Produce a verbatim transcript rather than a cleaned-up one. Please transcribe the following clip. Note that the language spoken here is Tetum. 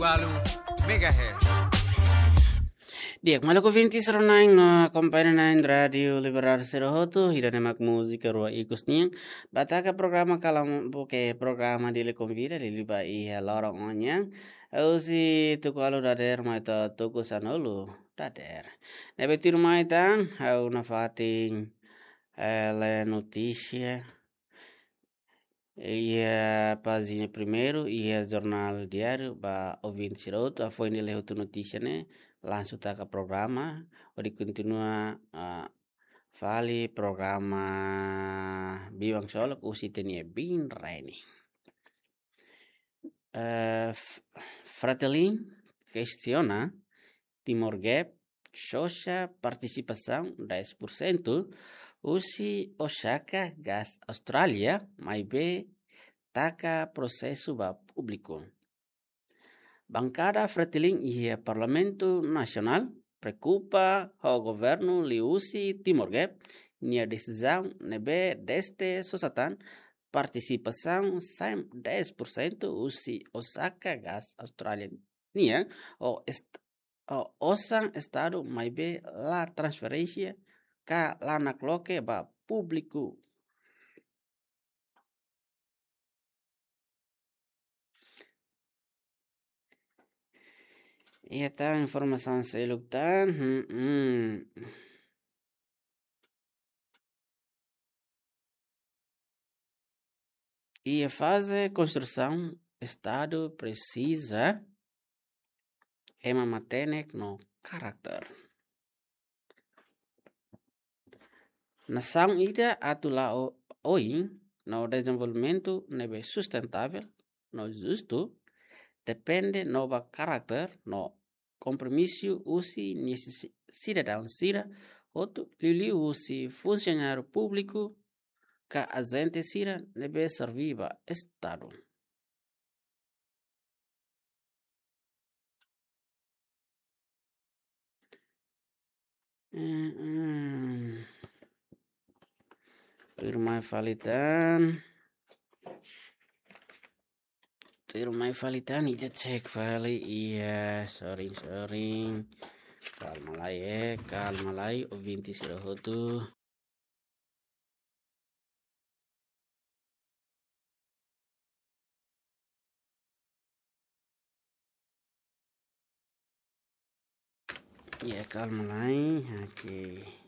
Walu megahertz. Di'ak, maluk ouvinte sira-ne'ebé akompaña ona rádiu Liberdade sira hotu, ida-ne'e mak múzika Rua Ikus nian. Ba taka programa kalam, buke programa Dili Konvida, Dili ba iha loron ohin nian. Husi tuku ualu dadeer mai to'o tuku sanulu dadeer. Ne'ebé tuirmai tan, ha'u nafatin, eh, lee notísia iha pájina primeiru iha Jornál Diáriu ba ouvinte sira hotu, hafoin lee hotu notísia ne'e, langsung taka programa, hodi kontinua, ah, fali programa Biban Ksolok husi T N I bin Raini. Eh, F-, Fretilin kestiona Timor Gap sosa partisipasaun dez por cento husi Osaka Gas Austrália, maibé taka prosesu ba públiku. Bankada Fretilin iha Parlamentu Nasionál preokupa ho governu liuhusi Timor Gap nia desizaun ne'ebé dezde sosa tan partisipasaun sai dez por cento husi Osaka Gas Austrália nian ho est-, ho osan estadu maibé la transferénsia ka la nakloke ba públiku. Iha tan informasaun seluk tan, hmm, hmm. Iha faze konstrusaun, estadu presiza ema matenek no karakter. Nasaun ida atu la'o oin no dezenvolvimentu ne'ebé sustentável no justu depende no ba karakter no kompromisu husi nia si-, sidadaun sira hotu, liuliu husi funsionáriu públiku ka ajente sira ne'ebé serve ba estadu. Mm, mm. Tuirmai fali tan. Tuirmai fali tan, ita cek fali, iya, sorry, sorry. Kalma lai, eh, kalma lai, ouvinte sira hotu. Ya, kalma lai. Oke.